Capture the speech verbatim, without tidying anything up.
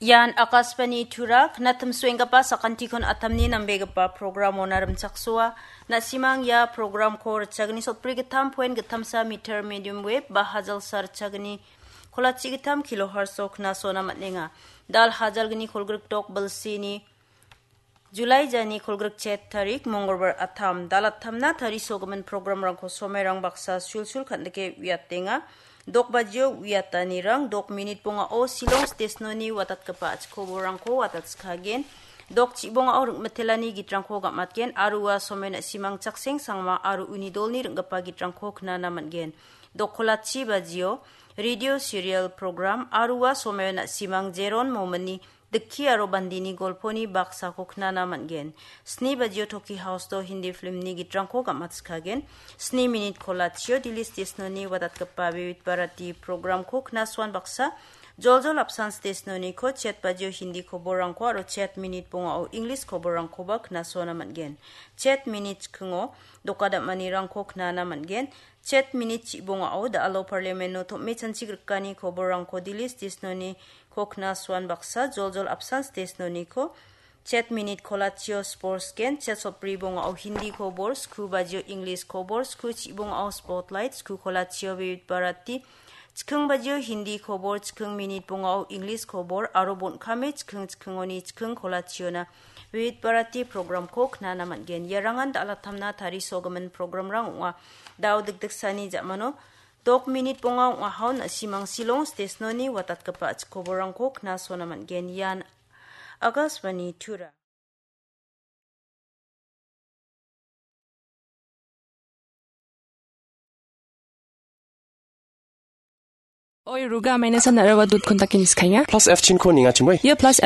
Ian Akashvani Tura, knatimsuenggipa sakantikon atamni nambegipa programona rimchaksoa. Na·simang ia programko ritchagni sotbri gittam poen gittamsa meter medium wave ba hajalsa ritchagni kolachi gittam kilohertz-o knasona man·enga. Dal hajalgni kolgrik dok bilsini Julai jani kolgrik chet tarik, Mongolbar atam. Dal attamna tarisogimin programrangko somairang baksa sulsul kan·dike uiatenga. Dok bajio uiatanirang, dok minit bongao Shillong stesnoni watatgipa achikoborangko watatskagen. Dok chibongao ringmitelani gitrangko gamatgen, aro ua somai na·simang Chakseng Sangma aro uni dolni ring·gipa gitrangko knana man·gen. Dok kolachi bajio radio serial program, aro ua somaio na·simang Jeron Momini Dikki aro Bandini golponi baksako knana man·gen. Sni bajio Toki House-o Hindi filmni gitrangko gamatskagen. Sni minit kolachio Delhi stesnoni watatgipa Vividh Bharati programko knasuan baksa, Joljol Apsan stesnoniko chet bajio Hindi koborrangko aro chet minit bongao English koborrangkoba knasuana man·gen. Chet minit chikingo doka dam·anirangko knana man·gen. Chet minit chibongao da·alo parliameno tom·e chanchigrikani koborrangko Delhi stesnoni ko knasuan baksa, Joljol Apsan stesnoniko chet minit kolachio sports gen, chet sotbri bongao Hindi kobor, sku bajio English kobor, sku chibongao spotlight, sku kolachio Vividh Bharati, chiking bajio Hindi kobor, chiking minit bongao English kobor, aro bon·kame chiking chikingoni chiking kolachiona Vividh Bharati programko knana man·gen. Iarangan dal attamna tarisogimin programrang ong·a. Dao dikdiksani ja·mano dok minit bonga ong·ahao na·simang Shillong stesnoni watatgipa achikoborangko knasona man·gen. Ian Akashvani Tura. Oi, ruga maina san narawa dut kontakin iskainga. Plus F chin ko ninga chimoi. Ia plus